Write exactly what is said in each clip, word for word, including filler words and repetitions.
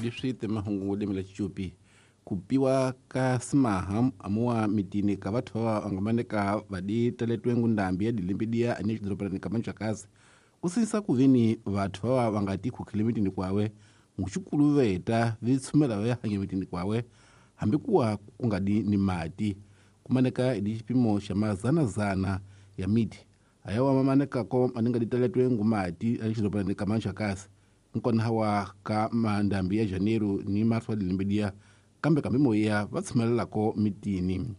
Leswi mahungu lemela Chichupi kupiwa ka simaha amuwa mitini ka vathu va nga maneka vadi taletwe ngundambi ya dilimbidia ane xidorobani ka Manjakazi kusinisa kuveni vathu va va nga ti khukhile mitini kwawe nguxikuluveta vi tshumela va hanya mitini kwawe hambi kuwa ku nga di ni mati kumaneka hi xipimo xa mazanazana ya miti ayawa mamanekako maninga ditaletwe ngumati ane xidorobani ka Manjakazi nkona hawa ka mandambi ya Janeiro ni marso wa dilimbidia kambe kambe moya va tshumelelako mitini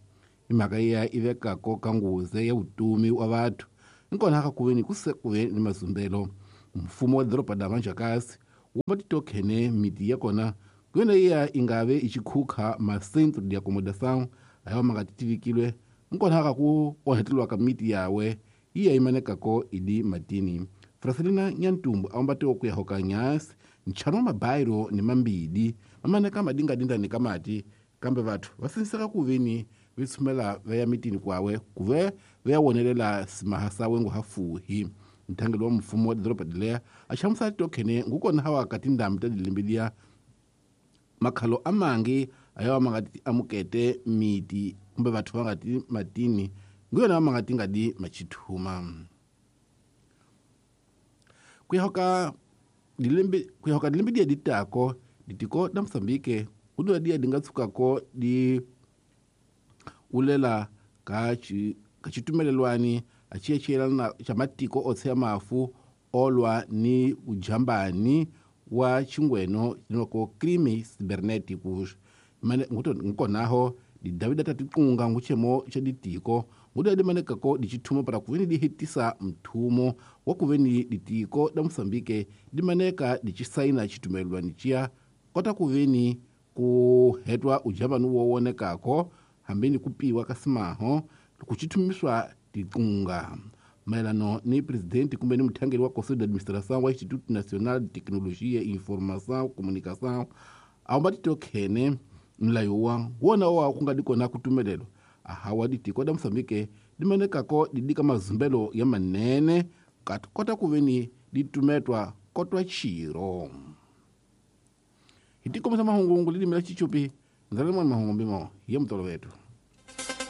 imhaka ya i vekako ka nghozi ya vutomi wa vathu nkona ka kuveni ku se kuve ni mazumbelo mfumo wa doroba da Manjakazi wu va titokhene miti ya kona kuyona iya ingave i xikhukha ma-centro de acomodação ayawa ma nga tivikilwe nkona ka ku onhetelwa ka miti yawe iya imanekako idi matini Francelina Nyantumbu awambatiwa ku ya hoka nyasi nchano wa mabairo ni mambidi mamaneka madingadindani ka mati kambe vathu va siniseka kuveni vi tshumela va ya mitini kwawe kuve va ya wonelela simaha sawe ngu hafuhi nthangelo wa mfumo wa doroba dileya a hlamusela titokhene ngukona hawa ka tindhambi ta dilimbidia makhalo amangi ayawa ma nga ti amukete miti kumbe vathu va nga ti matini nguyona ma nga ti nga di machithuma ku ya hoka dilembe ku ya hoka dilembe dia ditako ditiko da Mozambique ku dia di nga tshukako di ulela ka chi ka xitumelelwani a xi xiyelana xa matiko o tsheya mafu olwa ni ujambani wa xingweno loko crime cyberneticus mane nguto nkonaho di Davida tatiqunga nguchemo xa ditiko ngudo di manekako di chithumo para kuveni di hetisa mthumo wa kuveni ditiko da Mozambique di maneka di chisaina chitumelwani chia kota kuveni ku hetwa ujambani wo wonekako hambeni kupiwa ka simaho kuchithumiswa tiqunga mayelano ni presidente kumbe ni muthangeli wa Conselho de Administração wa Instituto Nacional de Tecnologia e Informação Comunicação awamba titokhene mlayo wa wona wa ku nga di kona kutumelelo ahawa ditiko da Mozambique di manekako di dika mazumbelo ya manene kati kota kuveni di tumetwa kotwa chiro hi tikomisa mahungu lilimi la Chichupi ndzalelo mwana mahungu mbimo ya mutolo wetu.